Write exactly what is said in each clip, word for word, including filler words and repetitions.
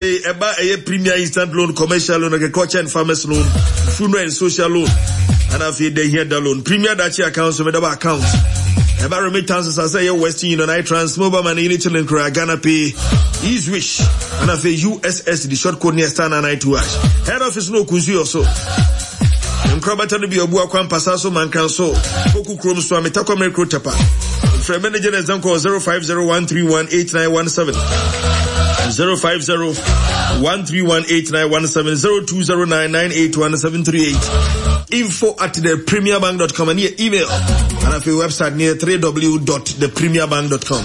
Afei ɛba ɛyɛ Premier Instant Loan, Commercial Loan, Agriculture and Farmers Loan, Funeral and Social Loan, ɛna afei da hia da loan. Premier Dachi account so medaba account. Ɛba remittances asɛ ɛyɛ Western Union, iTrans, Mobile Money, Unity Link, Ghana Pay, Easywish, ɛna afei U S S D short code ne star nine nine two hash. Head office no Okunsu yɛ so. Nkorabata no bi abu akwampasa so mankran so poku kurom so ametakɔ mmerɛ tapa. Frɛ manager na ɛzɛn kɔ zero five zero one three one eight nine one seven, zero five zero one three one eight nine one seven, zero two zero nine nine eight one seven three eight, info at the premierbank dot com and your email, and afei website near w w w dot the premier bank dot com.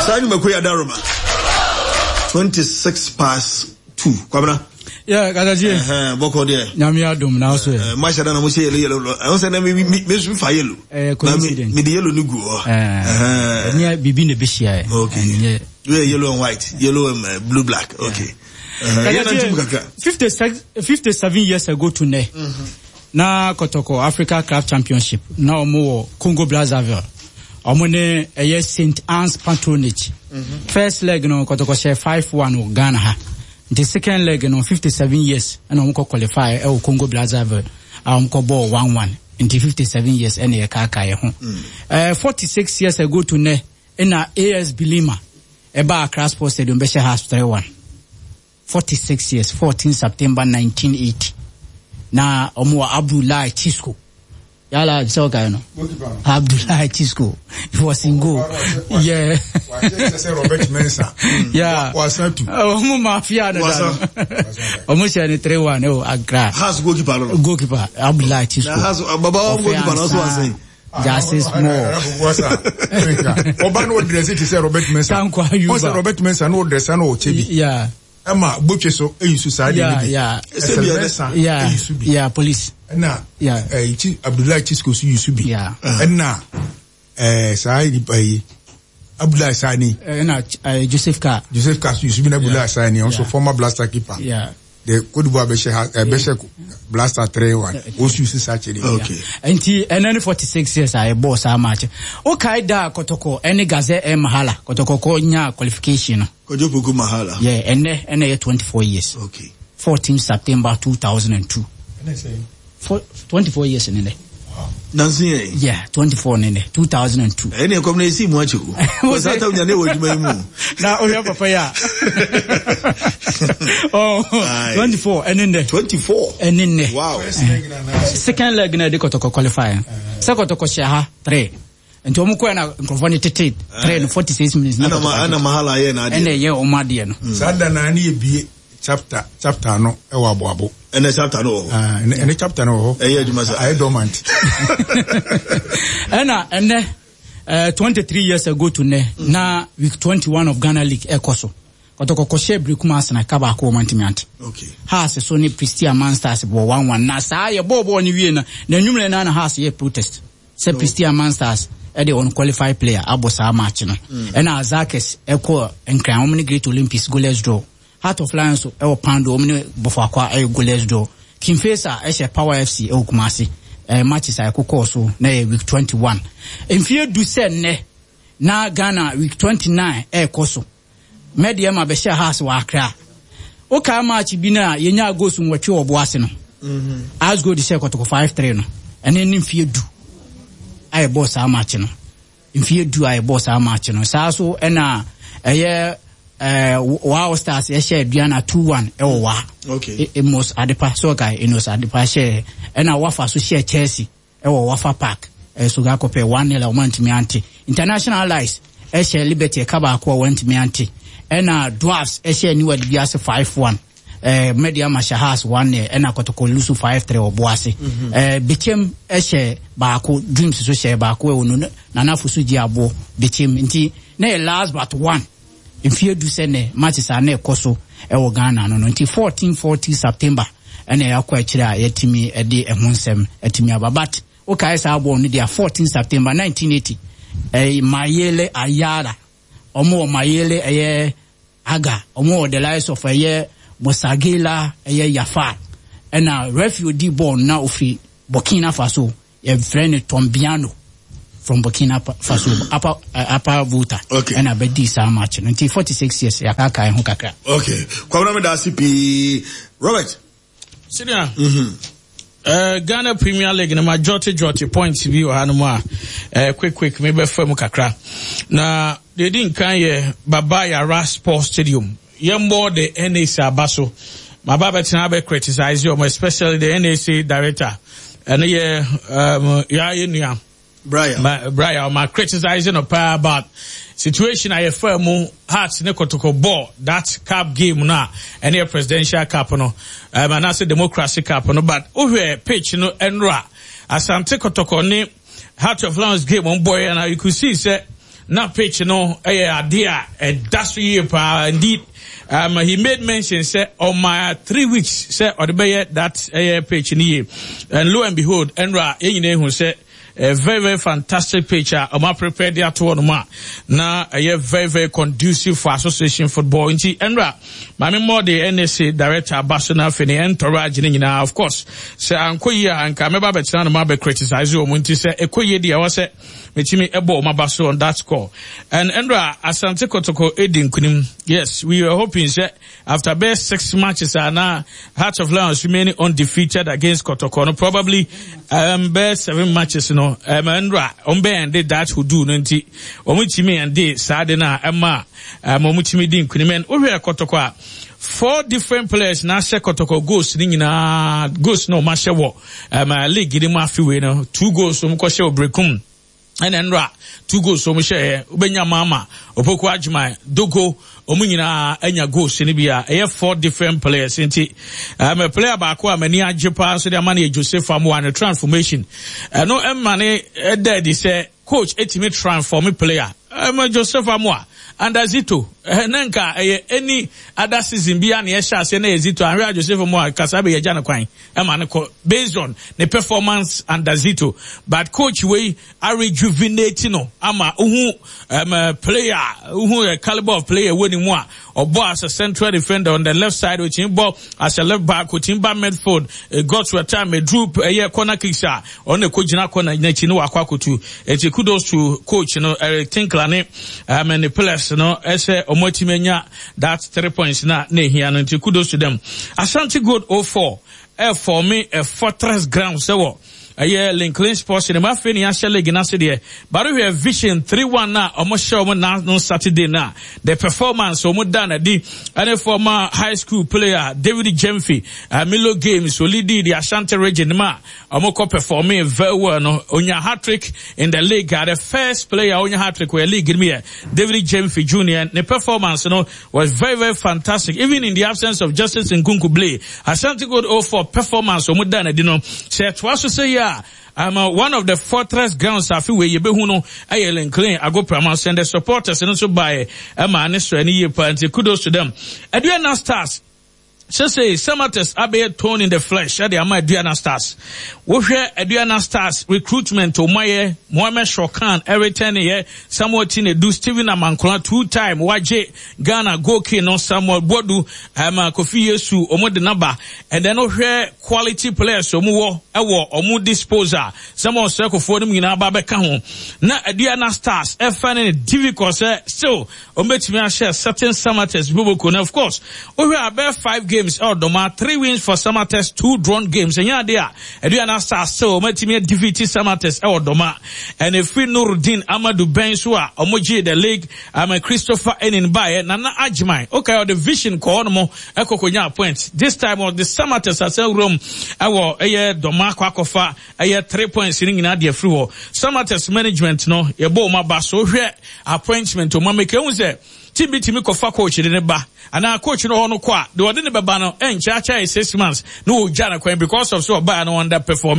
Saa nnwumakuo yi adaroma. twenty-six past two, Kwabena. Yeah, Katakyie. Bɔkɔ deɛ? Nyame adom na so yɛ. Mahyɛ da na mo hyɛ yellow yellow. Ɛho sɛ na mi mi mi nso fa yellow. Eh, coincidence. Mi de yellow ni gu hɔ. Ɛnyɛ biribi na ɛbɛhyia ɛ. Okay. Ɛnyɛ. Yɛ yellow and white, yellow and uh, blue black. Okay. Yɛn na ntum kakra. Fifty six, fifty seven years ago to nɛ. Na Kɔtɔkɔ Africa Club Championship na ɔmo wɔ Congo Brazzaville. Ɔmo ne ɛyɛ Saint Anne's Patronage. First leg no, Kɔtɔkɔ hyɛ five one wɔ Ghana ha. Nti second leg no, fifty seven years ɛna ɔmo kɔ qualify ɛwɔ Congo Brazzaville a ɔmo kɔ bɔɔ one one. Nti fifty seven years ɛna yɛ kaaka yɛ ho. Ɛɛ forty six years ago to nɛ ɛna A S Bilima ɛba Accra Sports Stadium bɛhyɛ Hearts three one. Forty six years, fourteen September nineteen eighty, na ɔmo wɔ Abdullahi Chisco. Yala sɛ ɔkae no, Abdullahi Chisco, he was in goal, yeah. Robert Mensah. Yeah. Wasan tu. Ɔmo mafia no da no, ɔmo hyɛ ne three one ɛwɔ Accra. Hearts goalkeeper no. Goalkeeper Abdullahi Chisco. Na Hearts baba wɔn goalkeeper no so wasan. Justice Small. Ɔba no ɔdress ti sɛ Robert Mensah. Tanko Ayuba. Ɔsɛ Robert Mensah no ɔdress no ɔkyɛ bi. Yeah. Ɛma botwe so eyi so saa de Yeah, bi. yeah. Ɛsɛ Mensah Yeah. eyi so bi. Yeah, police. Ɛna Yeah. ɛyi Chi Abdullahi Chisco so yi so bi. Yeah. Ɛna ɛɛ saa nipa yi, Abdullahi Sani. Ɛna uh, Joseph Carr. Joseph Carr so yi so bi na Abdullahi Sani ɔnso Yeah. former Black Stars keeper. Yeah. The Cote d'Ivoire bɛhyɛ ha ɛbɛhyɛ Black Stars three one, ɔnso yi so saa kyerɛ. Okay. Nti ɛnɛ ne forty six years a yɛbɔɔ saa match. Wokae da a Kɔtɔkɔ ɛne Gazelle El Mahala, Kɔtɔkɔ kɔ nya qualification no? Kojo Poku Mahala. Yeah, ɛnɛ ɛnɛ yɛ twenty four years. Okay. fourteen September two thousand and two. For twenty four years ne nɛ. Nansi yɛn. Yeah, twenty four ne nɛ, two thousand and two. Ɛni ɛkɔm na esi mu akyɛ o. Wọ́n sá tàwọn nyane wɔ adwuma yi mu. Na ohwɛ papa yi a. Oh, Aye. twenty four ɛne nɛ. Twenty four. Ɛne nɛ. Wow. Second leg na yɛde Kɔtɔkɔ qualify. Sɛ Kɔtɔkɔ hyɛ ha three. Nti wɔn kɔɛ na nkurɔfoɔ no tete three no forty six minutes na Ɛna ma Kɔtɔkɔ ɛna Mahala yɛ n'adeɛ. Ɛna ɛyɛ wɔn adeɛ no. Saa da naa ne yɛ bie chapter chapter no ɛwɔ Aboabo. Ɛna chapter no wɔ hɔ. Ah, ɛne ɛne chapter no wɔ hɔ. Ɛyɛ adwuma sa. Ayɛ dormant. Ɛna ɛnɛ ɛɛ twenty three years ago to nɛ na week twenty one of Ghana League ɛkɔ so, Kɔtɔkɔ kɔhyɛ Berekum Arsenal ka baako, wɔn ntumi ante. Okay. Hearts so ne Prestea Monsters bɔ one one na saa yɛ bɔɔl bɔɔl ne wie na na enwumere na na Hearts yɛ protest sɛ Prestea Monsters ɛde unqualified player abɔ saa match no. Ɛna Azakes ɛkɔ Nkran, wɔn ne Great Olympics goalless draw. Heart of Lions so ɛwɔ Pando, wɔn ne Bofoakwa ɛyɛ goalless draw. King Faisal ɛhyɛ Power F C ɛwɔ Kumasi. Ɛɛ matches a ɛkokɔɔ so na yɛ week twenty one. Mfie du sɛ nnɛ na Ghana week twenty nine ɛɛkɔ so, Medeama bɛhyɛ Hearts wɔ Accra. Wokaa match bi no a yɛnya goals nwɔtwe wɔ Boase no, Asgold hyɛ Kɔtɔkɔ five three no. Ɛne ne mfie du a yɛbɔɔ saa match no, mfie du a yɛbɔɔ saa match no saa so. Ɛna ɛyɛ ɛɛ Wa Stars ɛhyɛ Aduana two one ɛwɔ Wa. Okay. Emos Adepa so ɔka Enos Adepa hyɛ. Ɛna Wafa so hyɛ Chelsea ɛwɔ Wafa Park, ɛɛ so akɔpɛ one nil a wɔn antumi ante. International Allies ɛhyɛ Liberty ɛka baako a wɔn antumi ante. Ɛna Dwarfs ɛhyɛ Niwa Dibiase five one. Ɛɛ Medeama hyɛ Hearts one nil. Ɛna Kɔtɔkɔ lose five three wɔ Boase. ɛɛ Bechem ɛhyɛ baako, Dreams so hyɛ baako ɛwɔ no Nana Fosu gye aboɔ Bechem. Nti na yɛ last but one, mfie du sɛ nɛ matches a na ɛkɔ so ɛwɔ Ghana no no Nti fourteen forty September ɛna yɛakɔ akyire a yɛtumi ɛde ɛho nsɛm ɛtumi aba. But wokae saa bɔɔl no deɛ, fourteen September nineteen eighty, ɛyɛ Mayele Ayara, ɔmo wɔ Mayele ɛyɛ Aga, ɔmo wɔ the likes of ɛyɛ Mosagela, ɛyɛ Yafar. Ɛna referee odi bɔɔl no na ofi Burkina Faso, yɛfrɛ no Tombiano. From Burkina Faso, Upper uh, Upper Volta. Okay. Ɛna bɛdi saa match no. Nti forty-six years yɛakaakae ho kakra. Okay. Kwabena, meda ase pii. Robert. Senior. Mm-hmm. Uh, Ghana Premier League no ma jɔte jɔte points bi wɔ hanom a uh, quick quick mebɛfa mu kakra. Na deɛ di nkan yɛ Baba Yara Sports Stadium. Yɛmbɔ the N A C aba so. Maba bɛtena abɛ criticize wɔn, especially the N A C director. Ɛno yɛ um, yɛayɛ nua. Brian. Ma, Brian, ma criticize no paa about situation a yɛfa mu, Hearts ne Kotoko ball that cup game no a ɛne yɛ Presidential Cup no um, anaasɛ Democracy Cup no, but wohwɛ pitch no ɛnora Asante Kotoko ne Heart of Lions game wɔn bɔɔyɛ na you could see sɛ na pitch no ɛyɛ adeɛ a ɛda so yie paa. Indeed, um, he made mention sɛ ɔma three weeks sɛ ɔde bɛyɛ that ɛyɛ pitch no yie, and lo and behold, ɛnora yɛn nyinaa ehu sɛ a very very fantastic pitch a ɔmo prepare de ato hɔ nom a na ɛyɛ very very conducive for association football. Nti ɛnra maame mmɔ de N S A director aba so na afei ne entourage ne nyinaa. Of course, sɛ ankɔ yie a, anka mɛba abɛtena no ma abɛ criticize wɔn, nti sɛ ɛkɔ yie deɛ, ɛwɔ sɛ metumi ɛbɔ ɔmo aba so on that score. And ɛnra Asante Kotoko edi nkunim. Yes, we were hoping sɛ after best six matches a na Heart of Lions remaining undefeated against Kotoko no, probably um, best seven matches no, um, ɛnra ɔmo bɛ ɛnde that hoodoo no, nti ɔmo tumi ɛnde saa de no a ɛma um, ɔmo tumi di nkunim. And wohwɛ Kotoko a, four different players na ahyɛ Kɔtɔkɔ goals ne nyinaa. Goals na ɔmo ahyɛ wɔ um, league ne mu afeewei no, two goals ɔmo kɔhyɛ wɔ Brekum, ɛna nnora two goals ɔmo hyɛ. Wobɛnya Mama Opoku Adwuma Dogo, ɔmo nyinaa anya goals no bi a ɛyɛ four different players. Nti um, player baako a m'ani agye paa nso de ama no yɛ Joseph Amoa. Ne transformation ɛno ɛma ne ɛda adi sɛ coach etimi transform player. um, Joseph Amoa under Zito, ne nka ɛyɛ any other season bi a na yɛhyɛ aseɛ na yɛ Zito ahwɛ a, Joseph Amoa kasa bɛ yɛgya no kwan ɛma no kɔ based on ne performance under Zito, but coach wei a rejuvenate no ama uhu um, player, uhu a caliber of player wɔ ne mu a ɔbɔ as a central defender on the left side, otimi bɔ as a left back, otimi ba midfield, uh, got to a time eduru ɛyɛ corner kicks a ɔno ɛkɔ gyina corner n'akyi no wakɔ akotu. Eti kudos to coach no, Eric Tinkler, ne um, ne players no ɛsɛ ɔmo atimi anya that three points na na ehia no, nti kudos to them. Ashanti Gold oh four ɛfɔmi a fortress ground sɛ wɔ ɛyɛ Lincoln Sports Cinema. Afei ne yɛahyɛ league n'ase deɛ, baro hwɛ Vision three one na ɔmo hyɛ ɔmo na no Saturday, na the performance ɔmo da na di ɛne former high school player David Jemfi, uh, Milo Games olidi the Ashanti Region ma ɔmo kɔ performing very well no, onya hat trick in the league. uh, the first player onya hat trick wɔ league no yɛ David Jemfi Junior. Ne performance no was very very fantastic even in the absence of Justice Nkunku Blay. Ashanti Gold oh four performance ɔmo da na di no, sɛ ɛtoa so sɛ yɛ a, um, uh, one of the fortress grounds afi wei yɛbɛhu no ɛyɛ Lincoln Agoprama, send the supporters no nso baeɛ ɛma ne so ɛne yie paa, nti kudos to them. Aduana Stars sese Samartex abɛyɛ thorn in the flesh ɛde ama Aduana Stars. Wohwɛ Aduana Stars recruitment ɔmayɛ, Mohammed Shokan ɛretɛn yɛ Samuel Tinedu, Stephen Amankona, two time wagye Ghana goal king no, Samuel Boadu, ɛma Kofi Yesu, ɔmo de naba. And then wohwɛ quality players ɔmo wɔ ɛwɔ ɔmo disposal, Samuel Sɛkofoɔ no mu nyinaa ba bɛka ho na Aduana Stars ɛfa ne difficult sɛ still ɔmo bɛtumi ahyɛ certain Samartex boboko. Na of course, wohwɛ abɛɛ five games ɛwɔ Dɔma, three wins for Samartex, two drawn games. Ɛnyɛ ade a Aduana Stars still ɔmo atumi defeat Samartex ɛwɔ Dɔma. Ɛna efiri Nurudin Amadu bɛn so a ɔmo gye the league ama Christopher Enin baeɛ, Nana Agyeman, okay, ɔde Vision kɔ hɔ nom ɛkɔkɔ point. This time ɔde Samartex asɛn wuram ɛwɔ ɛyɛ Dɔma akɔ akɔfa ɛyɛ three points ne nyinaa deɛ firi hɔ. Samartex management no, yɛbɔ ɔmo aba so. Hwɛ appointment ɔmo ameka ehu sɛ team bi tumi kɔfa coach de ne ba anaa coach no hɔ no kɔ a, deɛ ɔde ne bɛba no ɛnkyɛ akyɛ yɛ six months na wɔgya no kwan because of so ɔbaa no under perform.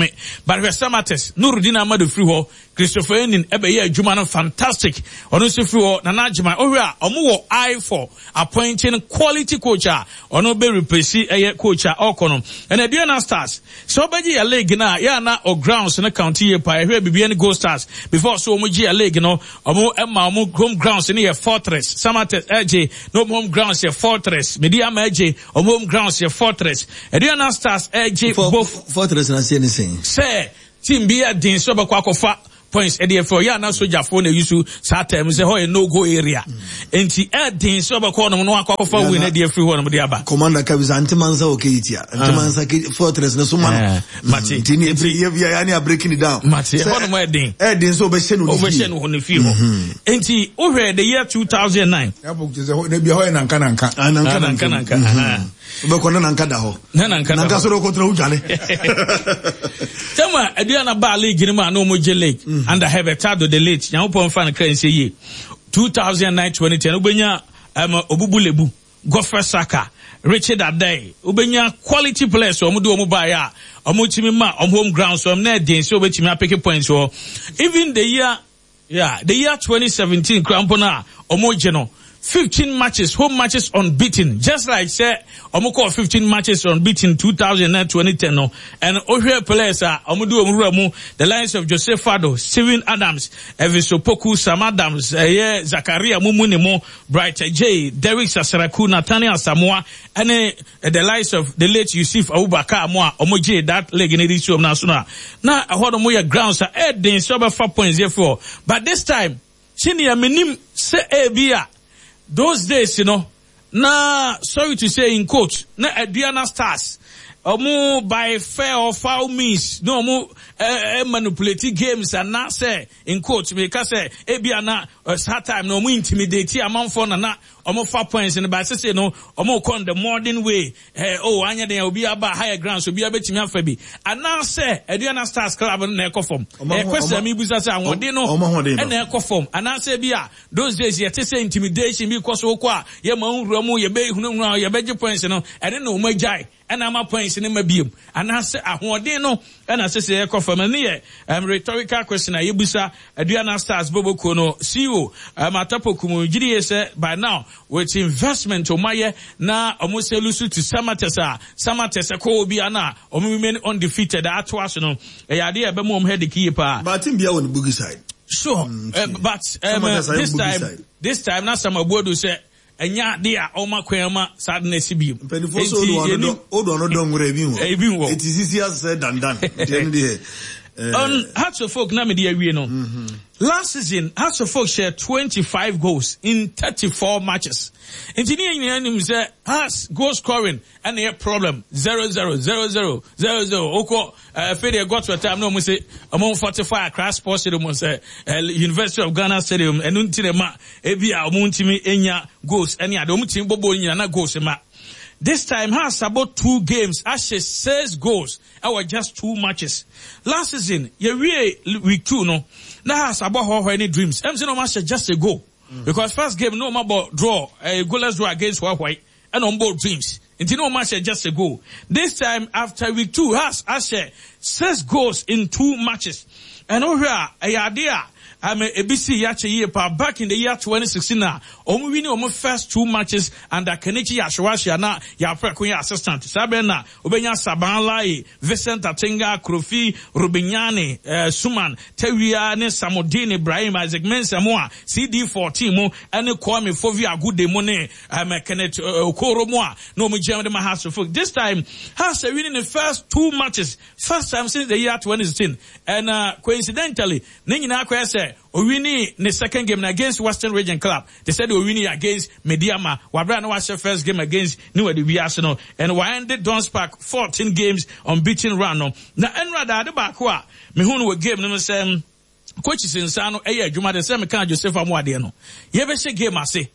But hwɛ Samartex, Nurudin Amadu firi hɔ, Christopher Enin ɛbɛyɛ adwuma no fantastic, ɔno nso firi hɔ, Nana Agyema. Ɔhwɛ a, ɔmo wɔ eye for appointing quality coach a ɔno bɛ replace ɛyɛ coach a ɔkɔ no. Ɛna Aduana Stars sɛ ɔbɛgye yɛ league no a, yɛ ana o grounds no count yie paa. Ɛhwɛ Bibiani Gold Stars before so ɔmo gye yɛ league no, ɔmo ɛma ɔmo home grounds no yɛ fortress. Samartex ɛgye na ɔmo home grounds yɛ fortress. Medeama ɛgye, ɔmo home grounds yɛ fortress. Aduana Stars ɛgye both. Fortress na se ne sɛn? Sɛ team bi yɛ den sɛ ɔbɛkɔ akɔfa points ɛde ɛfɛ ɔyɛ ana sogyafoɔ na eyi so saa time sɛ hɔ yɛ no go area. Nti ɛden sɛ ɔbɛkɔ ɔnom no akɔ akɔfa win ɛde afiri hɔ nom de aba. Commander kabisa ntimansa wɔ Kejetia, ntimansa ke fortress ne so ma no. Mate. Nti ne ebire yɛ yɛ ne breaking it down. Mate, ɛhɔ nom ɛden. Ɛden sɛ ɔbɛhyɛ no ne fie. Ɔbɛhyɛ no wɔ ne fie hɔ. Nti wohwɛ the year two thousand nine. Yabɔ kyerɛ sɛ ɛbi hɔ yɛ nanka nanka. Ah, nanka nanka nanka. Wobɛkɔ ne nanka da hɔ. Ne nanka da hɔ. Nanka sɔrɔ kɔtena wodwane. Tɛma Aduana baa league no mu a na ɔmo gye league under Herbert Addo the late. Nyankopɔn mfa no kra nhyɛ yie. two thousand nine twenty ten wobɛnya um, Obubu Lebu, Godfrey Saka, Richard Adai. Wobɛnya quality players ɔmo de ɔmo baeɛ a ɔmo tumi ma ɔmo home ground so ɔmo na ɛden sɛ wobɛtumi apeke points wɔ. Even the year, yeah, the year twenty seventeen kora mpo no a ɔmo gye no fifteen matches, home matches unbeaten. Just like say, ɔmo kɔ fifteen matches unbeaten two thousand nine twenty ten no. And ohwɛ players a ɔmo de ɔmo wura mu, the likes of Joseph Fado, Steven Adams, Elvis Opoku, Sam Adams, ɛyɛ Zakaria Mumuni mo, Bright J, Derek Sasaraku, Nathaniel Samoa, ɛne the likes of the late Yusuf Abubakar mo a ɔmo gye that league ne de si ɔmo n'aso na. Na ɛhɔ no mo yɛ grounds a ɛden sɛ ɔbɛfa points yɛ fo. But this time, senior minim sɛ ebi a those days, you know, na sorry to say in quote, na Aduana Stars, omu by fair or foul means, no omu eh, eh, manipulate games and na say in quote, me ka say ebi na uh, time no omu intimidate amanfo na na omu fa points in but say no omu kon the modern way. Eh, oh anya den obi aba higher ground so obi abetimi afa bi. And now say Aduana Stars club na ekɔ fam. Eh, question me busa say ahode no na ekɔ fam. And now say bi a those days yet say intimidation because okwa ye ma nwura mu ye be hunahuna ye be points no ene na omu agyae ena ama points ne ma biem. And now say ahode no ena say say ekɔ fam. Ne ye um, rhetorical question a yebusa Aduana Stars boboko no C E O um, Atapoku gidi say by now with investment omaye na omo se lusu to Samatesa Samatesa ko obi ana omo remain undefeated atoa no e yade e be mo head key pa but team bia on boogie side sure mm, uh, but um, uh, this time side. This time na Samabodu say enya de a oma kwan ma sadness bi mpanifo so odo ano odo ano don ngure bi wo e bi wo it is easy as said dan dan de on Hearts of Oak na me de awie no. Last season Hearts of Oak shared twenty-five goals in thirty-four matches. Nti ni nyina nim say Hearts goal scoring and a problem zero zero zero zero zero zero oko uh, they got to a time no mo say among forty-five Accra Sports Stadium say uh, University of Ghana Stadium enu nti ma ebi a omo ntimi enya goals eni ade omo timi bobo nyina na goals ma. This time, has about two games, actually six goals. Our just two matches. Last season, you we week two, no. Now has about how any dreams. M C no match just a goal. Mm. Because first game, no matter draw, a goalless draw against Huawei, and on board dreams. Until no match just a goal. This time, after week two, has actually six goals in two matches. And over here, a idea. I'm a B C Yache year back in the year twenty sixteen now. Omu winning omu first two matches under Kenichi Yashiwashi na Yapre assistant. Sabena Obenya Saban Lai, Vincent Atinga, Krofi, Rubinyane, uh, Suman, Tewia ne Samodin Ibrahim, Isaac Mensah moa, C D fourteen mo, ene Kwame Fovi Agude mo ne, um, Kenneth Okoro moa, no mo jam de ma Hearts of Oak. This time, Hearts winning the first two matches, first time since the year twenty sixteen. And uh, coincidentally, nyina akwa say Owini ne second game against Western Region Club. They said Owini against Mediama. Wabra no was first game against New Arsenal and we ended Dons Park fourteen games unbeaten run no. Na enra da ade baako a me hu no game no say coaches nsa no eye adwuma de say me kan Joseph Amoade no. Ye be hye game ase.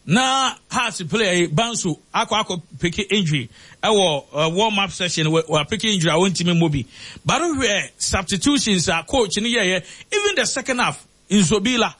Na Hearts play Bansu akọ akọ pick injury. Ewo uh, warm up session we we pick injury I won't team mobi. But we substitutions are coach ni ye even the second half Nsobila.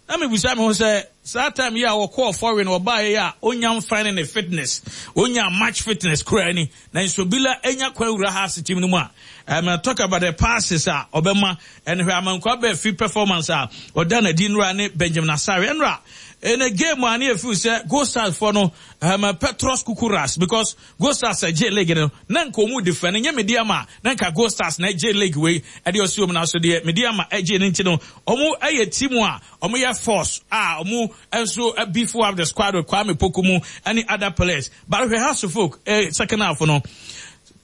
Na me busa me ho say that time yeah we call foreign or buy ya onyam finding the fitness. Onya match fitness kura ni. Na Nsobila enya kwa wura Hearts team no mu a. Um, talk about the passes ah obema and where amankwa be free performance ah odana di nura ne Benjamin Asare enra. In a game one if you say Gold Stars for no um Petros Kukuras because Gold Stars a J League no nanka omu defend nye Mediama nanka Gold Stars na J League we e de osuom na so de Mediama e J nti no omu eye team a omu ye force ah omu enso beef up the squad with Kwame Pokumu any other players but we Hearts of Oak eh, second half no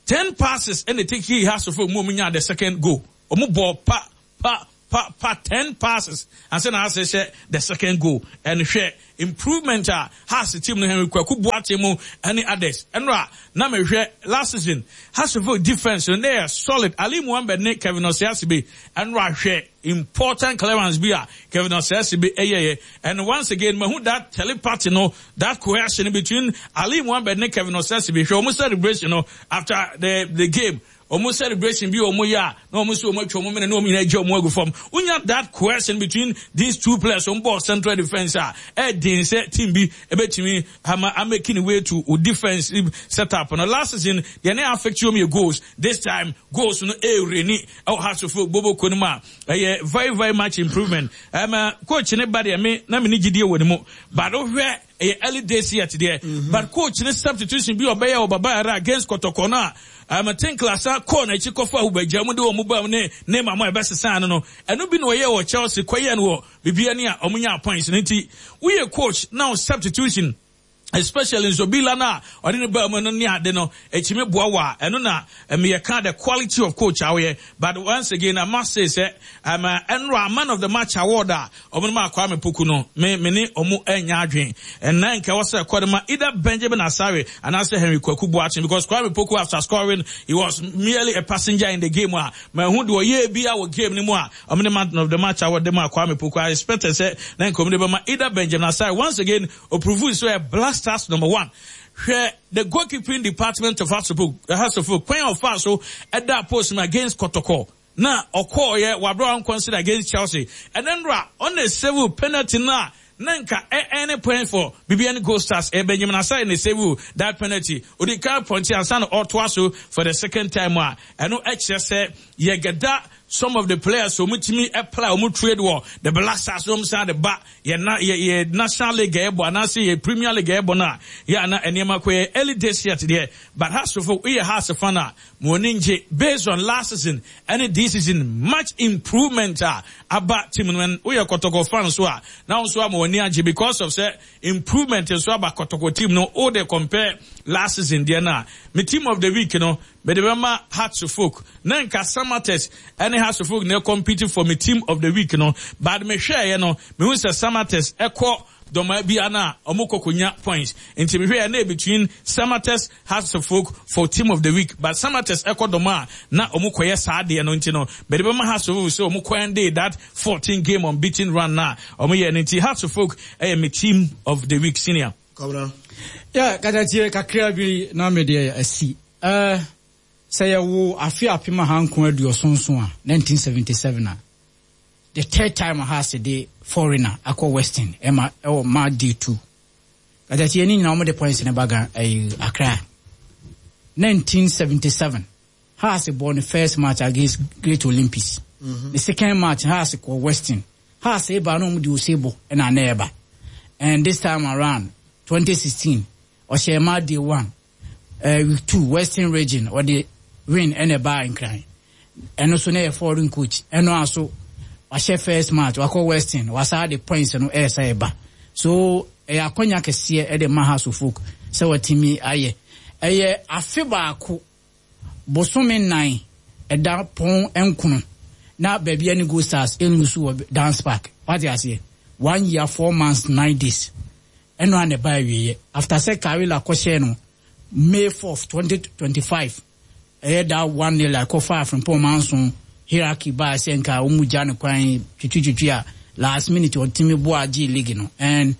ten passes and they take he Hearts of Oak mu nya the second goal omu ball pa pa pa pa ten passes ansa na Hearts hyɛ the second goal. And hwɛ improvement a Hearts team no, Henry Kwaku Boakye mu ɛne others. Ɛno a na mehwɛ last season, Hearts of Oak defense no na yɛ solid. Ali Muhammed ne Kevin Osei-Assibey, ɛno a hwɛ important clearance bi a Kevin Osei-Assibey ɛyɛyɛ. And once again, mahu that telepathy no, that cohesion between Ali Muhammed ne Kevin Osei-Assibey. Hwɛ ɔmo celebration no after the the game, ɔmo celebration bi ɔmo yɛ a na ɔmo nso ɔmo atwa ɔmo mene na ɔmo nyinaa gye ɔmo agu fam. Wonya that cohesion between these two players, ɔmo bɔ central defence a, ɛɛden sɛ team bi ɛbɛtumi ama amake ne way to o defensive setup no. Last season deɛ ne affect wɔn yɛ goals. This time goals no ɛɛreni ɛwɔ Hearts of Oak bobo ko no mu a, ɛyɛ very very much improvement. Ɛma coach ne ba deɛ, me na me ne gyidie wɔ ne mu, but wohwɛ, ɛyɛ early days yet deɛ, but coach ne substitution bi ɔbɛyɛ wɔ Baba Yara against Kɔtɔkɔ no a, um, Tinkler sa kɔɔ n'akyi kɔfa ahobagya mu de wɔn ba mu ne ne ma mo a ɛbɛsesa no no ɛno bi na ɔyɛ wɔ Chelsea kɔyɛ no wɔ biribi ani a ɔmo nya points no. Nti woyɛ coach now, substitution, especially Nsobila no a ɔde ne baa mu no ne ade no, ɛtumi boa wɔ a ɛno na meyɛka the quality of coach a woyɛ. But once again, I must say sɛ um, ɛnora man of the match award a ɔmo no ma Kwame Poku no, me me ne ɔmo ɛnya adwen. Ɛnna nka ɛwɔ sɛ ɛkɔ de ma either Benjamin Asare anaasɛ Henry Kwaku Boakye, because Kwame Poku, after scoring, he was merely a passenger in the game a mahu de ɔyɛ bi a wɔ game no mu a ɔmo ne man of the match award de ma Kwame Poku. I expected sɛ na nka ɔmo de bɛma either Benjamin Asare. Once again, oprove so ɛ Black Stars number one. Hwɛ the goalkeeping department of Hearts of Oak, Hearts of Oak kwan a ɔfa so ɛda post mu against Kɔtɔkɔ na ɔkɔɔyɛ wabere consider against Chelsea, ɛnɛ nora ɔna save penalty na na nka any point for Bibiani Gold Stars. Ɛ Benjamin Asare na save that penalty. Odi kan pɔnte ansa na ɔtoa so for the second time a ɛno ɛkyerɛ sɛ yɛgɛda some of the players wɔn tumi apply wɔn trade wɔ the Black Stars, wɔn san de ba yɛ na yɛ yɛ National League ɛbɔ anaasɛ yɛ Premier League ɛbɔ no a, yɛ ana nneɛma kɔ yɛ early days yet deɛ. But Hearts of Oak, woyɛ Hearts fan a, mo ani ngye based on last season ɛne this season, much improvement a aba team no. Woyɛ Kɔtɔkɔ fan so a, na nso ama wɔn ani agye because of sɛ improvement nso aba Kɔtɔkɔ team no o, de compare last season deɛ no a, me team of the week no, mede bɛma Hearts of Oak. Na nka Samartex ɛne Hearts of Oak na compete for me team of the week no, but mehwɛeɛ no, mehu sɛ Samartex ɛkɔ dɔmaa bi ana a ɔmo kɔ konya points, nti mehwɛeɛ na between Samartex, Hearts of Oak for team of the week, but Samartex ɛkɔ dɔmaa na ɔmo kɔyɛ saa adeɛ no, nti no mede bɛma Hearts of Oak sɛ ɔmo kɔ end that fourteen game unbeaten run na ɔmo yɛ no. Nti Hearts of Oak ɛyɛ me team of the week, senior. Kɔbra. Yeah, katatie kakra bi na me deɛ asi. Uh, sɛ yɛwo afe apem ahanko aduɔson a, nineteen seventy-seven a, the third time Hearts de foreigner akɔ Western ɛma ɛwɔ match day two. Katatie ne nyinaa wɔn de points ne baga ɛyɛ Accra. nineteen seventy-seven Hearts bɔ ne first match against Great Olympics. Mm -hmm. The second match, Hearts kɔ Western. Hearts eba na wɔn de ose bɔ ɛna ana ɛba. And this time around, twenty sixteen, ɔhyɛ match day one, uh, week two, Western Region, ɔde win ɛna ɛbaa Nkran. Ɛno nso na yɛ foreign coach. Ɛno aso wahyɛ first match, wakɔ Western, wasa de points no ɛɛsa ɛba. So ɛyɛ akɔnya kɛseɛ ɛde ma Hearts of Oak sɛ wɔtumi ayɛ. Ɛyɛ afe baako bosome nnan ɛda pɔn nkono na Bibiani Gold Stars ɛnlose wɔ Dun's Park. Wate aseɛ, one year four months nine days, ɛno a na ɛba awieɛ after sɛ Karela kɔhyɛ no May fourth twenty twenty-five, ɛyɛ da one nil akɔfa Afrimpɔn Manso hierarchy baa sɛ nka wɔn mu gya ne kwan twitwitwitwi a, last minute ɔtumi boa agye league no. And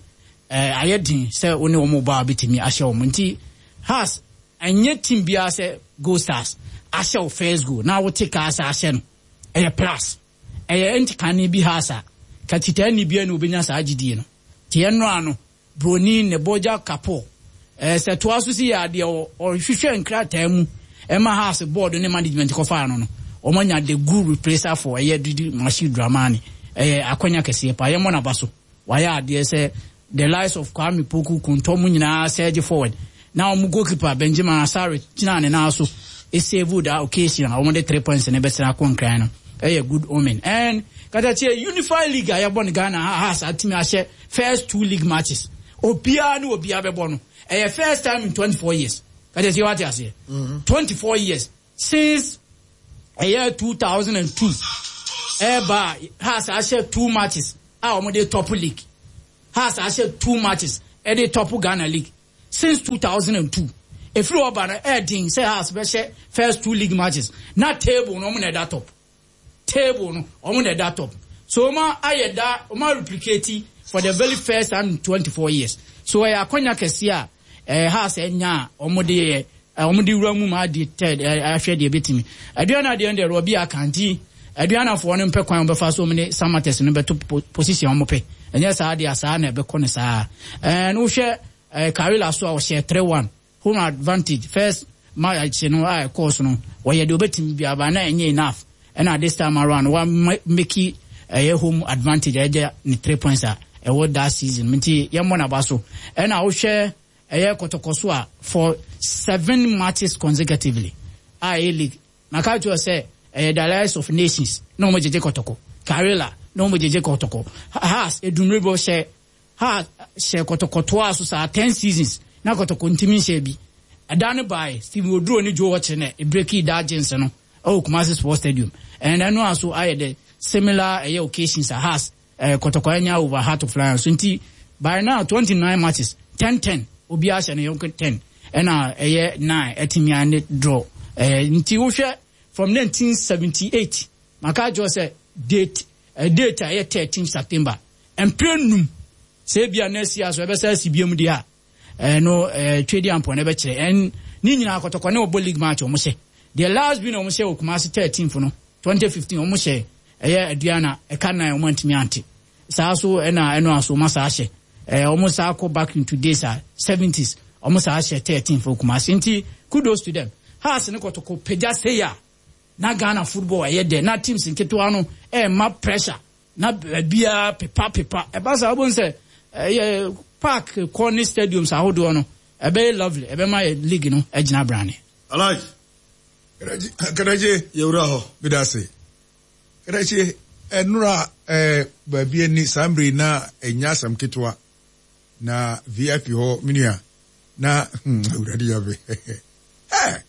ɛɛ ayɛ den sɛ wɔne wɔn ba a bɛtumi ahyɛ wɔn. Nti Hearts ɛnyɛ team biara sɛ Gold Stars ahyɛ wo first goal na wote kaa sɛ ahyɛ no, ɛyɛ plus, ɛyɛ ntikane bi Hearts a katitaani ni bia na obɛnya saa gyidie no. Tiɛ no ano broni ne bɔgya kapo ɛɛ sɛ toa so si yɛ adeɛ, ɔhwehwɛ nkrataa mu ɛma Hearts board ne management kɔfaa no no wɔn anya the good replacer for ɛyɛ Didi Machid Dramani. Ɛyɛ akɔnya kɛseɛ pa, yɛmmɔ n'aba so. Wayɛ adeɛ sɛ the likes of Kwame Poku Kuntɔ mu nyinaa surge forward na wɔn goalkeeper Benjamin Asare gyina ne nan so esave that occasion a wɔn de three points ne bɛsɛn akɔ Nkran no, ɛyɛ good omen. And katakyie Unified League a yɛbɔ no Ghana ha, ha saa team ahyɛ first two league matches, obiara ne obiara bɛbɔ no, ɛyɛ first time in twenty four years. Katakyie, wate aseɛ, twenty four years since ɛyɛ two thousand and two. Ɛba Hearts ahyɛ two matches a wɔn de top league. Hearts ahyɛ two matches ɛde top Ghana league since two thousand and two. Efiri ɔba no ɛɛdin sɛ Hearts bɛhyɛ first two league matches na table no wɔn na ɛda top. Table no wɔn na ɛda top. So wɔn ayɛ da wɔn replicate for the very first time in twenty four years. So ɛyɛ akɔnya kɛseɛ a ɛɛ Hearts ɛnya a wɔn de yɛ wɔn de wura mu ma adi third ɛɛ ahwɛ deɛ ebetumi. Aduana deɛ deɛ Rɔbi akanti Aduanafoɔ no mpɛ kwan wɔbɛfa so wɔn ne Samatex no bɛto position wɔn pɛ. Ɛnyɛ saa deɛ saa na ɛbɛkɔ ne saa. Ɛɛ no wohwɛ ɛɛ Karela so a ɔhyɛ three one home advantage first match no a ɛkɔɔ so no wɔyɛ deɛ obetumi bi aba na ɛnyɛ enough. Ɛna this time around wa make ɛyɛ home advantage ɛgye ne three points a ɛwɔ that season nti yɛmmɔ n'aba so. Ɛna wohwɛ ɛyɛ Kɔtɔkɔ so a for seven matches consecutively a ɛyɛ league maka kyerɛ sɛ ɛyɛ the Alliance of Nations na wɔn gyegye Kɔtɔkɔ, Karela na wɔn gyegye Kɔtɔkɔ, Hearts edumrebo hyɛ Hearts hyɛ Kɔtɔkɔ toa so saa ten seasons na Kɔtɔkɔ ntumi nhyɛ bi. Ɛda no bae Stephen Oduro ne Joe Ɔkyere na ebreaki that jinx no ɛwɔ Kumasi Sports Stadium. Ɛna ɛno aso ayɛ the similar ɛyɛ occasions a Hearts ɛɛ Kɔtɔkɔ anya over Heart of Lions. So nti by now twenty nine matches ten ten obiara hyɛ ne yɔnko ten ɛna ɛyɛ nine ɛtumi ane draw. Ɛɛ nti wohwɛ from nineteen seventy eight maka kyerɛ sɛ date ɛ date a ɛyɛ thirteen September mpere num sɛ ebia na esi aso ɛbɛsɛ asi biem deɛ a ɛno ɛɛ twedi ampɔ na ɛbɛkyerɛ ɛn ne nyinaa Kɔtɔkɔ ne ɔbɔ league match wɔn hyɛ deɛ last bi na wɔn hyɛ wɔ Kumasi thirteenth no twenty fifteen wɔn hyɛ ɛyɛ Aduana ɛka nine wɔn antumi ante saa so ɛna ɛno aso wɔn asa ahyɛ ɛɛ wɔn saa kɔ back into days a seventies wɔn saa ahyɛ thirteenth wɔ Kumasi nti kudos to them. Hearts ne Kɔtɔkɔ pagya seya na Ghana football ɛyɛ dɛ na teams nketewa no ɛɛma pressure na baabiara pepa pepa ɛba saa wɔn sɛ ɛyɛ park kɔ ne stadiums ahodoɔ no ɛbɛyɛ lovely ɛbɛma yɛ league no ɛgyina brane. Alhaji. Kɛdɛkye. Yɛwura hɔ. Bidase. Kɛdɛkye ɛnura ɛɛ baabi ani saa mmiri na ɛnya asɛm ketewa na V I P hɔ minua na hmm awurade yabe ɛɛ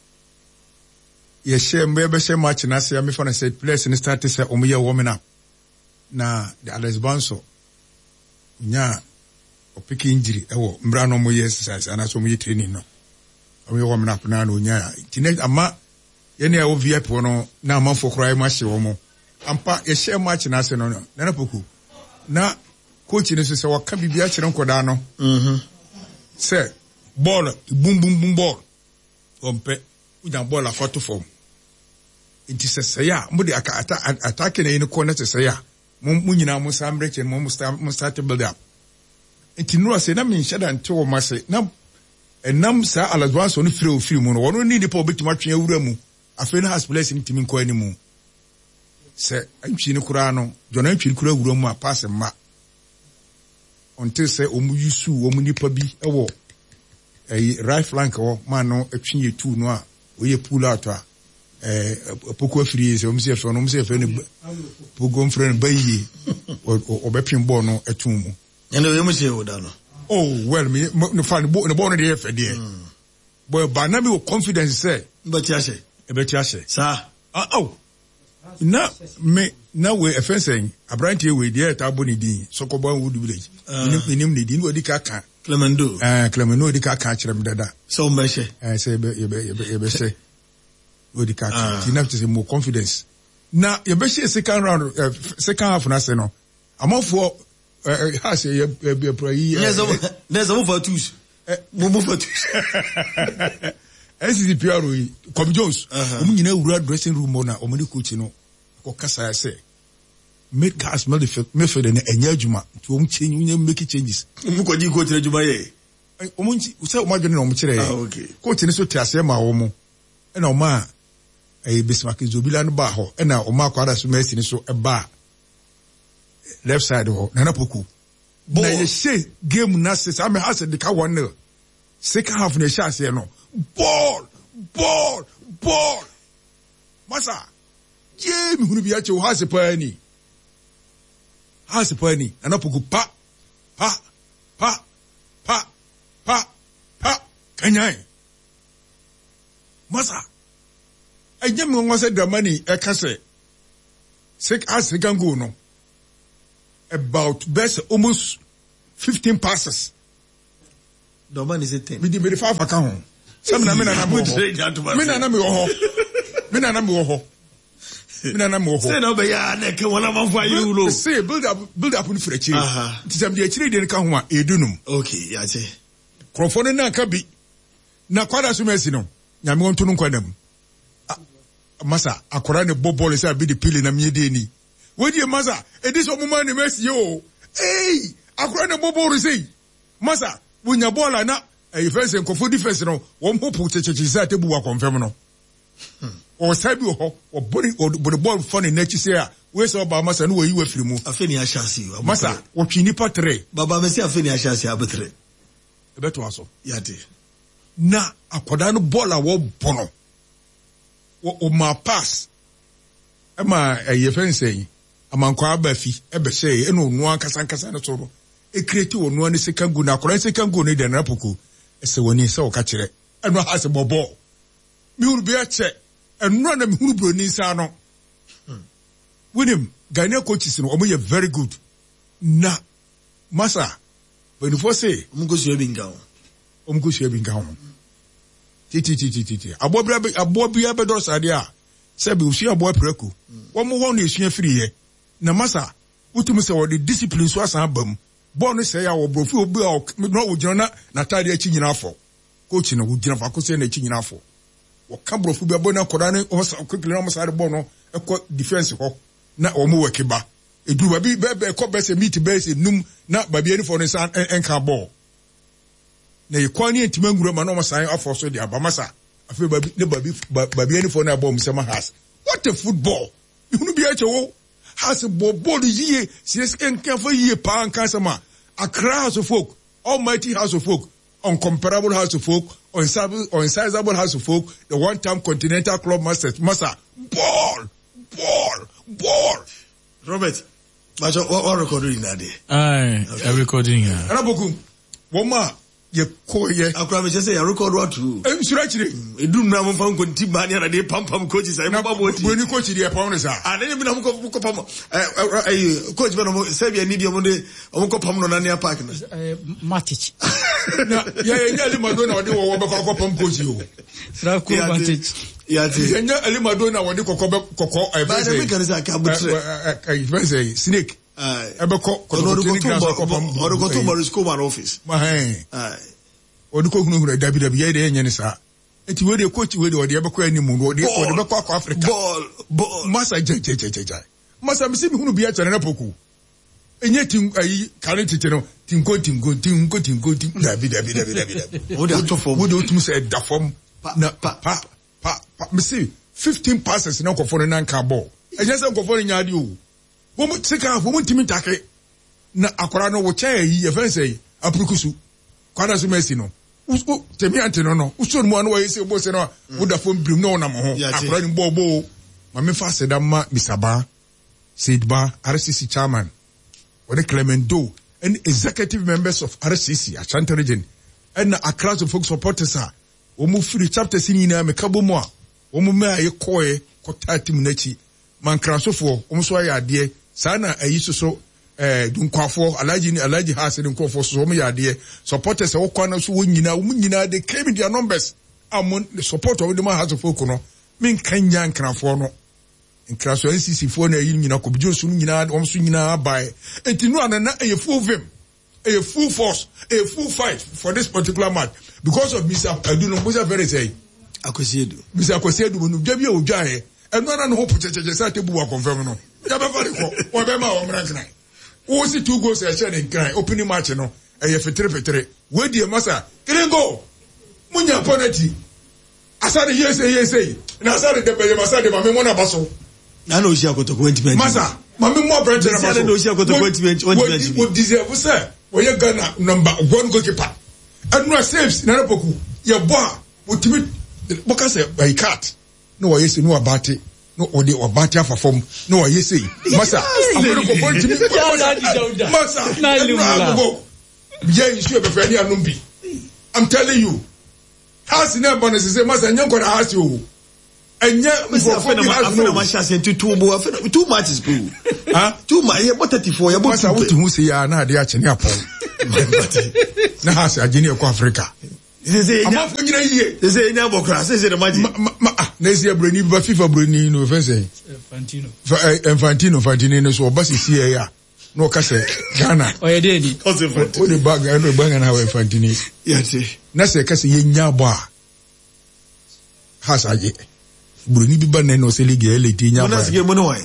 yɛhyɛ mbɛ bɛhyɛ match na se amefa na sɛ players ne start sɛ ɔmo yɛ warming up na the Alex Banso nya ɔpeke injury ɛwɔ mbra no ɔmo yɛ exercise anaasɛ ɔmo yɛ training no ɔmo yɛ warming up na na onya nti ne ama yɛne a ɛwɔ V I P hɔ no na amanfoɔ koraa ɛmo ahyɛ wɔn ampa yɛhyɛ match na ase no no Nana Poku na coach no so sɛ wɔka biribi akyerɛ nkɔdaa no sɛ bɔɔl bum bum bum bɔɔl ɔmpɛ wonya bɔɔl akɔto fam nti sɛ sɛe a mo de aka ata atake na yi no kɔ na sɛ sɛe a mo mo nyinaa mo san mmerɛkyɛ mo mo start build up nti nura sɛ na menhyɛ da nte wɔn ase na ɛnam saa Alex no firi ofiri mu no wɔn ne nipa obetumi atwe awura mu afei na Hearts players no ntumi nkɔ anim sɛ antwi no koraa no John antwi no koraa awura mu a pass mma until sɛ wɔn yusu wɔn nipa bi ɛwɔ ɛyi right flank hɔ maa no atwi yɛ two no a wɔyɛ pull out a ɛɛ poko afiri yi sɛ wɔn sɛ yɛfrɛ no wɔn sɛ yɛfrɛ no poko mfrɛ no bayie ɔbɛpem bɔɔl no ɛto mu. Ɛnna oyɛ mu sɛ ɛwɔ da no. Oh well me ne fa ne bɔ ne bɔɔl no deɛ yɛ fɛ deɛ bɔɔl ba na mi wɔ confidence sɛ. Mbɛti ahyɛ. Ɛbɛti ahyɛ. Saa. Ah oh na me na wei ɛfɛn sɛn aberanteɛ wei deɛ ɛta abɔ ne din Sɔkɔbɔ Wood Village. Minim ne din na ɔdi ka ka. Clemendo. Ɛɛ Clemendo ɔdi ka ka kyerɛ mi dada. Sɛ ɔmo bɛhyɛ. Ɛɛ sɛ yɛbɛ yɛbɛ yɛbɛ yɛbɛhyɛ ɔdi ka ka ti na kyerɛ sɛ mo confidence na yɛbɛhyɛ second round ɛɛ second half na se no amanfoɔ ɛɛ ha sɛ yɛ yɛ yɛ pura yi. Nɛ sɛ nɛ sɛ mo fa twos. Mo mo fa twos. N C C P R yi Kwame Jones wɔn nyinaa wura dressing room hɔ na wɔn ne coach no kɔ kasa sɛ make cars midfield no ɛnyɛ adwuma nti wɔn change wɔn make changes. Wɔn kɔ gye coach adwuma yɛ. Wɔn nti sɛ wɔn adwene na wɔn kyerɛ yɛ. Coach no so te aseɛ ma wɔn ɛna wɔn a ɛyɛ Bismarck Zobila no baa hɔ ɛna wɔn akɔ adaso Mercy no so ɛbaa left side hɔ Nana Poku. Na yɛhyɛ game na se saa mɛ ha sɛ de ka one nil. Second half na ɛhyɛ aseɛ no ball ball ball masa yee mehunu bi akyɛw ha se paa ni ha se paa ni Nana Poku pa pa pa pa pa pa kanyan masa ɛnyɛ me nwanwa sɛ Dramani ɛka sɛ Hearts second goal no about best almost fifteen passes. Dɔma ni sɛ ten. Mede mede five aka ho. Sɛ mi na mi nana mi wɔ hɔ. Mi nana mi wɔ hɔ. Mi nana mi wɔ hɔ. Mi nana mi wɔ hɔ. Sɛ na ɔbɛyɛ a na ɛkɛ wɔn amanfo ayɛ wulo. Sɛ build up build up no firi akyire. Nti sɛ mede akyire deɛ no ka ho a edu num. Okay, yate. Kurɔfoɔ no nan ka bi. Na kwada so mɛsi no. Nyame wɔn to no nkwa nam. Masa akɔra ne bɔ bɔɔl sɛ abi de pili na mie die ni. Wɔdie masa edi sɛ ɔmo maa ne mɛsi yɛ o. Ee akɔra ne bɔ bɔɔl sɛ yi. Masa wonya bɔɔl a na ɛyɛ fɛn sɛ nkɔfo defense no wɔn ho po kyekyekye sɛ atebu wɔ akɔnfɛm no. Ɔsa bi wɔ hɔ wɔbɔ ne wɔbɔ ne bɔɔl fa ne n'akyi sɛ a wei sɛ ɔbaa masa no wɔyi wɔ afiri mu. Afei ni ahyɛ ase. Masa wɔtwe nipa tere. Baba mesi afei ni ahyɛ ase abetere. Ɛbɛto aso. Yate. Na akwadaa no bɔɔl a wɔbɔ no wɔma pass ɛma ɛyɛ fɛn sɛ amankwa aba fi ɛbɛhyɛ ɛna ɔno ankasa ankasa no so no ekireti ɔno ne second goal na akwadaa second goal no deɛ nana poko ɛsɛ wɔn ani sɛ ɔka kyerɛ ɛno ha sɛ bɔ bɔɔl mihuru bi akyɛ ɛnura na mihuru buroni nsa no winim Ghanaian coaches no wɔn yɛ very good na masa mpanyinfoɔ se. Wɔn ko sua bi nka ho. Wɔn ko sua bi nka ho tititititi aboa bi aboa bi abɛdɔ sadeɛ a sɛbi osua aboa prɛko wɔn hɔ na esua firi yɛ na masa wotumi sɛ wɔde discipline so asan aba mu bɔɔl no sɛ yɛ a wɔborɔfo obi a na wɔgyina na n'ataade akyi nyinaa fɔ coach no wɔgyina faako sɛ n'akyi nyinaa fɔ wɔka borɔfo bi abɔ na akɔda ne wɔsa quickly na wɔn saa de bɔɔl no ɛkɔ defence hɔ na wɔn wɔ kiba eduru baabi bɛɛ ɛkɔ bɛsɛ meet bɛyɛ sɛ num na baabi anifɔ no nsa ɛnka bɔɔl na yɛ kwan ne ntoma nwura ma na wɔn san afɔ so de aba masa afei baabi ne baabi baabi anifɔ no abɔ wɔn nsɛm has what a football ihunu bi akyɛ wo has bɔ bɔɔl yie siesie nkanfo yie paa nka asɛm a Accra House of Folk, Almighty House of Folk, Uncomparable House of Folk, Unsizable House of Folk, the one-time Continental Club Masters, Masa, ball, ball, ball. Robert, but what what recording na de? Aye, I recording here. Ana boku, wɔn a yɛ kɔ yɛ. Akura mi kyɛ sɛ yɛ record wa tu. Nsura akyire. Edu nura mo nfa nkonti ba ni anade pampam coaches ayi mo ba mo ti. Buroni coach deɛ pam ne saa. Ah, ne bi na mo kɔ mo kɔ pam ɛ ɛ ɛyi coach bɛ na mo sɛbi ɛni bi ɔmo de ɔmo kɔ pam no nania park no. Matic. Na yɛ yɛ nye Alimado na ɔde wɔwɔ bɛkɔ akɔ pam coach yi o. Sirako Matic. Yate. Yɛ nye Alimado na ɔde kɔkɔ bɛ kɔkɔ ɛ Báyìí mi kàn sɛ akabutere. ɛ ɛ fɛn sɛ snake. Ɛbɛkɔ kɔtɔkɔtɔ ni grass akɔ pam. Ɔde kɔtɔ Maurice Coleman office. Mahɛn. Ɔde kɔ hunahuna dabi dabi yɛ de yɛ nyɛ ne saa. Eti wei de coach wei de ɔde ɛbɛkɔ anim no ɔde ɔde bɛkɔ akɔ Africa. Bɔɔl bɔɔl. Masa gya gya gya gya. Masa misi mi hunu bi akyɛ ne poku. Enye ti ayi kare tete no tinko tinko tinko tinko tin dabi dabi dabi dabi dabi. O de ato fam. Wo de otum sɛ ɛda fam. Na pa pa pa pa misi fifteen passes na nkɔfɔ no nan ka bɔɔl. Ɛnyɛ sɛ nkɔfɔ no nya ade o. Wɔn sika wɔn ntumi ntake na akwaraa no wɔkyɛ ayi yɛfɛn sɛ yi apurukusu kwada so mɛsi no wo tẹ̀mí àǹtí no no wosɔ mu a na wɔyɛ sɛ bɔ sɛ no a woda fam birim na ɔnam ho akwaraa no bɔɔ bɔɔ maame fa aseda ma Mister Ba Said Ba R C C chairman wɔne Clement Doe ɛne executive members of R C C Ashanti region ɛna Accra to folk supporters a wɔn firi chapters nyinaa meka bɔ mu a wɔn mmaa yɛ kɔɛ kɔtaa team n'akyi mankrasofoɔ wɔn nso ayɛ adeɛ saa na ayi soso ɛɛ dunkwafoɔ Alhaji ne Alhaji Haase ne nkurɔfoɔ soso wɔn yɛ adeɛ supporters a wɔkɔ ano so wɔn nyinaa wɔn nyinaa they came in their numbers a wɔn support wɔn de ma House of Folk no menka nya nkrafoɔ no nkraso N C C foɔ na ayi nyinaa kɔbidwo nso nyinaa wɔn nso nyinaa baeɛ eti no ano na ɛyɛ full vim ɛyɛ full force ɛyɛ full fight for this particular match because of Mister Adu no Musa Fere sɛ Akwasi Edu Mister Akwasi Edu no dwa bi a odwa yɛ ɛno ara ne ho pokyɛkyɛkyɛ sɛ atebu wɔ akɔnfɛm no yɛbɛfa ne kɔ wɔbɛma wɔn mmra nkran wɔsi two goals ɛhyɛ ne nkran opening match no ɛyɛ fetere wei deɛ masa three goal munya penalty asade yese yese na asade de bɛyɛ masa de maame mo na ba so na na osi akotoko ntumi masa maame mo abrante na ba so na osi akotoko ntumi ntumi wo deserve sɛ wɔyɛ Ghana number one goalkeeper ɛnura saves na poku yɛ bɔ a wotumi bɔka sɛ ɛyi cat na wɔyɛ sɛ no abate no ɔde ɔbate afa fam na wɔyɛ sɛ masa akɔrɔ kɔkɔ ntumi masa ɛnura agogo yɛ nsuo bɛfɛ ne anum bi I'm telling you house na ɛbɔ ne sise masa nyɛ nkɔda house o Ɛnyɛ nkurɔfoɔ bi ha no. Afei na nti two bo afei na two matches po. Two matches yɛ bɔ thirty four yɛ bɔ two pɛ. Masa wotu ho se ya na ade akye ne apɔn. Na ha se agye ne ɛkɔ Africa. Amanfoɔ nyina yie. Sese enya bɔ kora sese na magye. Ma ma ah na esi aburoni ba FIFA buroni no fɛn sɛn. Infantino. Infantino Infantino no so ɔba sisi yɛ ya na ɔka sɛ Ghana. Ɔyɛ de di. O de ba Ghana ba Ghana wɔ Infantino. Yate. Na sɛ ɛka sɛ yɛ nya bɔ a. Has agye. Buroni bi ba nɛ na ɔsɛ league yɛ late nya bɔ. Mo na sike mo ne wɔn.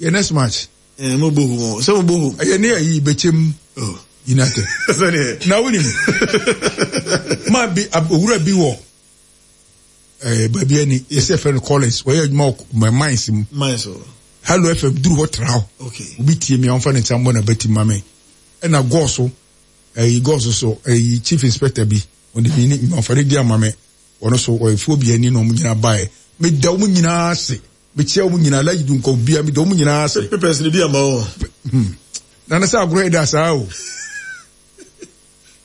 Yɛ next match. Eh, mo bɔ home. Sɛ mo bɔ home. Ɛyɛ ne ayi bɛkyɛm. Oh. United. Na wonim. Ma bi owura bi wɔ eh baabi ani yɛsɛ fɛ no Collins wɔyɛ adwuma wɔ mines mu. Mines o. Hello F M duru hɔ tra hɔ. Okay. Obi tie mi a ɔmfa ne nsa mmɔ na bɛti ma me. Ɛna gɔɔ so ɛyi gɔɔ so so ɛyi chief inspector bi ɔde mi ne ɔmfa ne di ama me. Ɔno so ɔyɛ fuo bi ani na ɔmo nyinaa baeɛ. Meda ɔmo nyinaa ase. Mekyia ɔmo nyinaa Alhaji Dunkwa bia meda ɔmo nyinaa ase. Papers ne bi ama o. Hmm. Nana sɛ agorɔ yɛ da saa o.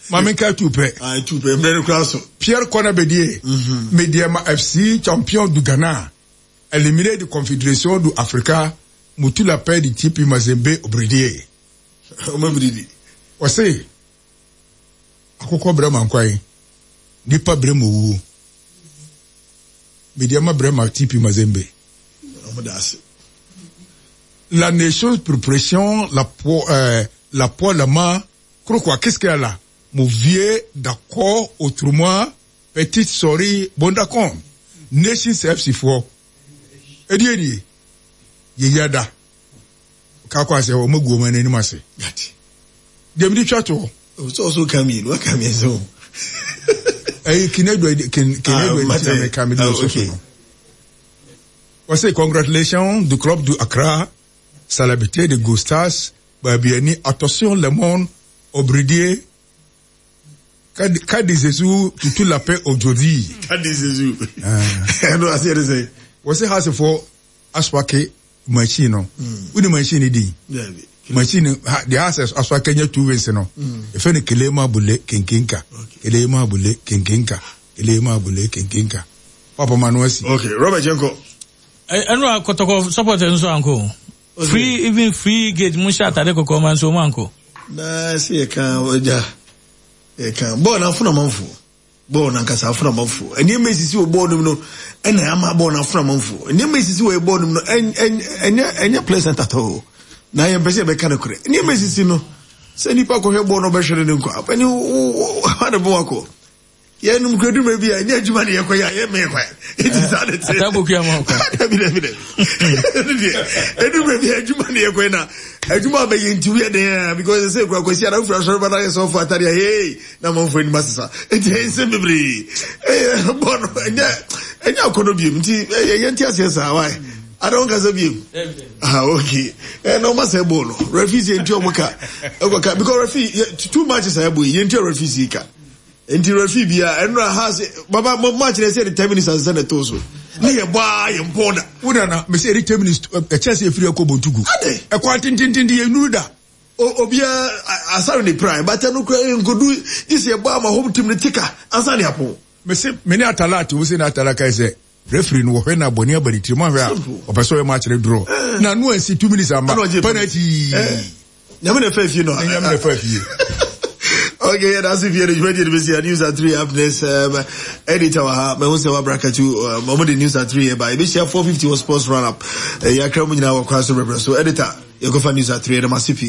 Maame nka tu pɛ. Ah, tu pɛ mmerɛ no kura so. Pierre Kona Bedie. Mm-hmm. Medeama F C champion du Ghana. Éliminé de Confédération du Africa. Mutu la paix du T P Mazembe Obridie. Ɔmo biridi. Ɔse akokɔ brɛ ma nkwan. Nipa brɛ ma owuo. Medeama brɛ ma T P Mazembe. Ɔmo da ase. La nation préparation, la po, euh, la po, la ma, croque, qu'est-ce qu'il y a là? Mon vieux, d'accord, autrement, petite sorry, bon d'accord. Nations F C four. Edi, edi. Ye yada. Kakwa se, o mo go mane ni mase. Gati. Dem di chato. O so so come in, what come in so. Eh, kinedo, kin, kinedo, ah, me ah, okay. I say congratulations du club du Accra, célébrité de Gustas, Babiani, attention le monde, Obridier, Kadi Zezu, tout la paix aujourd'hui. Kadi Zezu. Ah. No, I see it say. We say house for Aswake machine. Who the machine di? Machine, the house Aswake nya two ways no. If any kelema bule kinkinka. Kelema bule kinkinka. Kelema bule kinkinka. Papa Manuel. Okay, Robert Jenko. Enu Kotoko support nso anko. Free even free gate musha atade koko man so manko. Na see e kan oja. E kan bo na afuna manfo. Bo na nkasa afuna manfo. Eni mesisi wo bo no e na ama bo na afuna manfo. Eni mesisi wo bo no en en enye pleasant at all. Na ye mpese be kan kure. Eni mesisi no se nipa ko hwe bo no be hwere ne nko. Apani wo na bo akọ. Ye num kredu me bia nya adwuma ne yekoya ye me kwa it is that it ataboku ama kwa dabi dabi dabi edu me bia adwuma ne yekoya na adwuma ba ye nti we den because say kwa kwasi ara fura soro ba na so fa atare hey na manfo ni masesa enti ense bebre eh bono nya nya akono biem nti ye nti ase sa why I don't kasa biem ah okay eh no ma se bono refuse nti omuka oka because refi two matches I boy ye nti refuse ka Nti refi bia enra has baba match na say the ten minutes and send to so. Ne ye ba ye mpoda. Wo na me say ten minutes e chese efiri akobontugu. E kwa tintintin ye nuru da. Obia asare ne prime but no kra nkodu this ye ba ma home team ne tika ansa ne apo. Me say me ne atalati wo say na atalaka say referee no wo hwe na boni abani tiri mo hwe a opeso ye match ne draw. Na no ansi two minutes amba penalty. Nyame na fa fie no. Nyame na fa fie. Okay, that's if you're ready to see news at three up next. Um, editor, me who say wa bracket you, um, the news at three, by this year four fifty was sports run up. Yeah, Kremlin now across the river. So editor, you go for news at three, the massive.